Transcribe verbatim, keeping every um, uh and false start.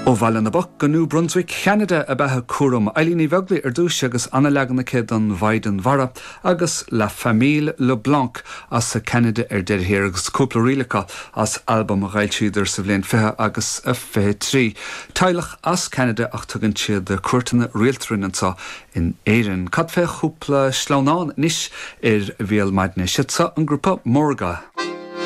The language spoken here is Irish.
Ó Bhaile na bPoc go New Brunswick Cheanada ab ea cúram Eileen Ní Bheaglaoich ar dtús agus an-leagan aici den Mhaighdean Mhara agus La Famille LeBlanc as Ceanada ar deireadh thiar agus cúpla ríl acu as albam a d'fhoilsíodar sa bhliain fiche agus a fiche trí. Teaghlach as Ceanada ach tugann siad cuairteanna rialta orainn anseo in Éirinn. Cad fé chúpla sleamhnán anois ar Bhéal Maidine siad seo an grúpa Morga.